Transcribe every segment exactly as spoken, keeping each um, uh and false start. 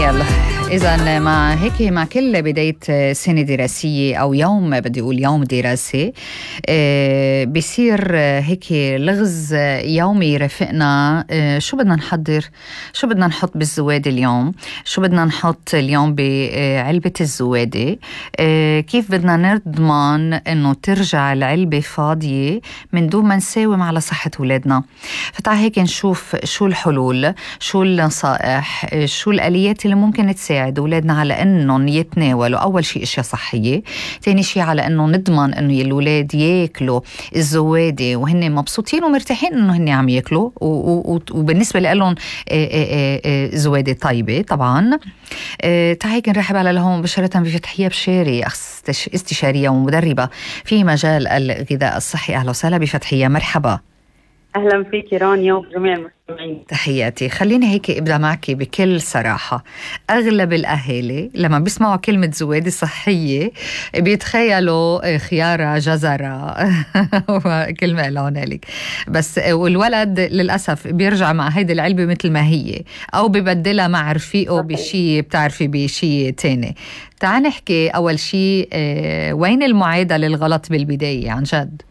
يلا إذا مع هيك مع كل بداية سنة دراسية أو يوم بدي أقول يوم دراسي آه بيصير هيك لغز يومي يرافقنا. آه شو بدنا نحضر، شو بدنا نحط بالزوادة اليوم، شو بدنا نحط اليوم بعلبة الزوادة، آه كيف بدنا نضمن إنه ترجع العلبة فاضية من دون ما نساوم على صحة أولادنا. فتعال هيك نشوف شو الحلول، شو النصائح، شو الآليات اللي ممكن تساعد أولادنا على أنهم يتناولوا أول شيء أشياء صحية، تاني شيء على أنه نضمن أنه الأولاد ياكلوا الزوادة وهن مبسوطين ومرتاحين أنه هن عم ياكلوا، وبالنسبة لهم زوادة طيبة طبعا. تعال هيك نرحب على لهم مباشرة بفتحية بشاري، استشارية ومدربة في مجال الغذاء الصحي. أهلا وسهلا بفتحية، مرحبا. أهلا فيك رانيا وجميع المستمعين. تحياتي. خليني هيك ابدأ معك بكل صراحة. أغلب الأهالي لما بيسمعوا كلمة زوادة صحية بيتخيلوا خيارة جزرة وكلمة لهنالك بس، والولد للأسف بيرجع مع هيدي العلبة مثل ما هي أو ببدلها مع رفيقه بشي بتعرفي بشي تاني. تعال نحكي أول شي وين المعادة للغلط بالبداية عن جد؟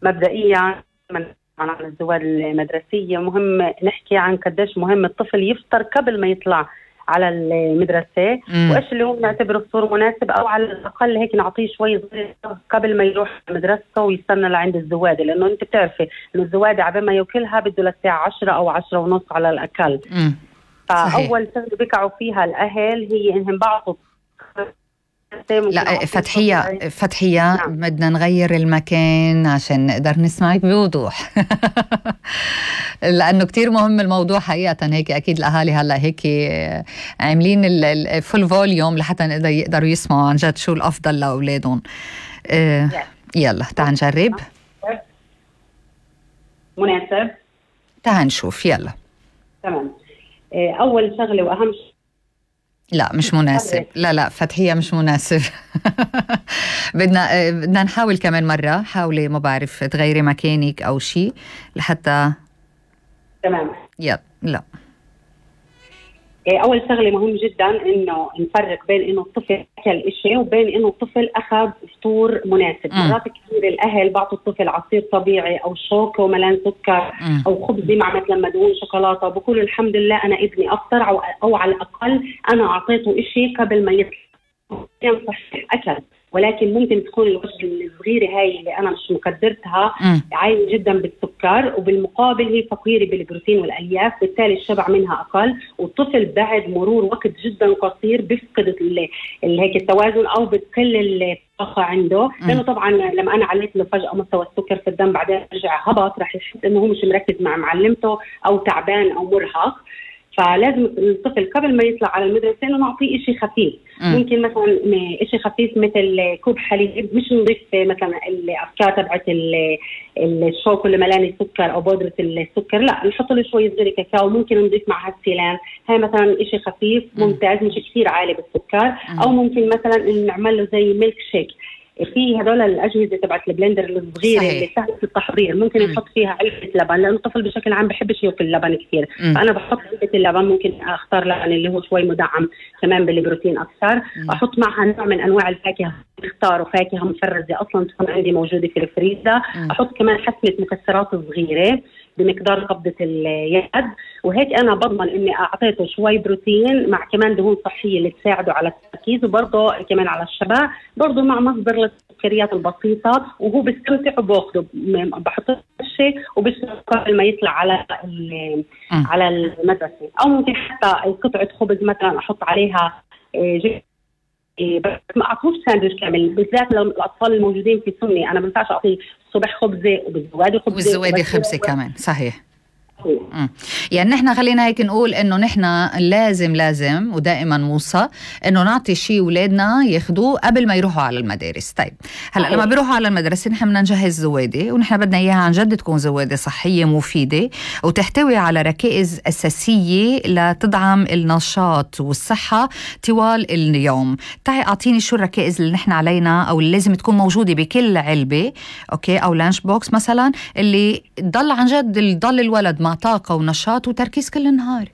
مبدئيا من عن الزواد المدرسية مهم نحكي عن قديش مهم الطفل يفطر قبل ما يطلع على المدرسة، وإيش اللي هو نعتبره فطور مناسب، أو على الأقل هيك نعطيه شوي صغير قبل ما يروح مدرسته ويستنى لعند الزوادة، لأنه أنت بتعرفي إنه الزوادة عبال ما ياكلها بده للساعة عشرة أو عشرة ونص على الأقل. مم. فأول شغلة بيقعوا فيها الأهل هي إنهم بعضوا. لا فتحية فتحية نعم. بدنا نغير المكان عشان نقدر نسمعك بوضوح لأنه كتير مهم الموضوع حقيقة. هيك أكيد الأهالي هلأ هيك عاملين الفول فوليوم لحتى نقدر يقدروا يسمعوا عن جد شو الأفضل لأولادهم. آه يلا تعال نجرب. مناسب، تعال نشوف. يلا تمام. أول شغلة وأهم شيء لا مش مناسب. لا لا فتحية مش مناسب بدنا بدنا نحاول كمان مرة. حاولي ما بعرف تغيري مكانك أو شيء لحتى تمام. يلا لا أول شغلة مهم جدا إنه نفرق بين إنه الطفل أكل إشي وبين إنه الطفل أخذ فطور مناسب. م. مرات كثير الأهل بعطوا الطفل عصير طبيعي أو شوكة وملان سكر م. أو خبز مع مثلا مدهون شوكولاتة، وبقول الحمد لله أنا ابني أفطر، أو, أو على الأقل أنا أعطيته إشي قبل ما يطلع. يعني صحيح أكل، ولكن ممكن تكون الوجبة الصغيرة هاي اللي أنا مش مقدرتها عالية جدا بالسكر، وبالمقابل هي فقيرة بالبروتين والألياف، بالتالي الشبع منها أقل، والطفل بعد مرور وقت جدا قصير بيفقد هيك التوازن أو بتقل الطاقة عنده، لأنه طبعا لما أنا عليت له فجأة مستوى السكر في الدم بعدين رجع هبط، رح يحس إنه هو مش مركز مع معلمته أو تعبان أو مرهق. فلازم الطفل قبل ما يطلع على المدرسة إنه نعطيه إشي خفيف. م. ممكن مثلا إشي خفيف مثل كوب حليب، مش نضيف مثلا الأفكار تبعت الشوكو اللي ملاني سكر أو بودرة السكر، لا نحط له شوي صغير كاكاو، ممكن نضيف معها السيلان، هاي مثلا إشي خفيف ممتاز مش كثير عالي بالسكر. م. أو ممكن مثلا نعمل له زي ميلك شيك، في هدول الأجهزة تبعت البلندر الصغيرة اللي سهلة التحضير، ممكن م. نحط فيها علبة لبن، لأنه الطفل بشكل عام بحبش ياكل اللبن كثير. م. فأنا بحط علبة اللبن، ممكن أختار لبن اللي هو شوي مدعم كمان بالبروتين أكثر. م. أحط معها نوع من أنواع الفاكهة، اختاروا فاكهة مفرزة أصلا تكون عندي موجودة في الفريزر. م. أحط كمان حسمة مكسرات صغيرة بمقدار قبضة اليد، وهيك أنا بضمن إني أعطيته شوي بروتين مع كمان دهون صحية اللي تساعده على التركيز، وبرضه كمان على الشبع، برضه مع مصدر للسكريات البسيطة، وهو بيستمتع وباخده. بحط الشيء وبشرب قبل ما يطلع على على المدرسة. أو ممكن حتى قطعة خبز مثلا أحط عليها جبنة، بس ما أعطوش ساندويش كامل، بالذات لو الأطفال الموجودين في سني أنا ما بنفعش أعطيه الصبح خبزة وبالزوادة خبزة وبالزوادة خبزة كمان. صحيح. مم. يعني نحن خلينا هيك نقول انه نحن لازم لازم ودائما موصى انه نعطي شيء اولادنا ياخذوه قبل ما يروحوا على المدارس. طيب هلا لما بيروحوا على المدرسه نحن بدنا نجهز زواده، ونحن بدنا اياها عن جد تكون زواده صحيه مفيده وتحتوي على ركائز اساسيه لتدعم النشاط والصحه طوال اليوم. تعي اعطيني شو الركائز اللي نحن علينا او اللي لازم تكون موجوده بكل علبه اوكي او لانش بوكس مثلا، اللي ضل عن جد ضل الولد مع طاقة ونشاط وتركيز كل النهار.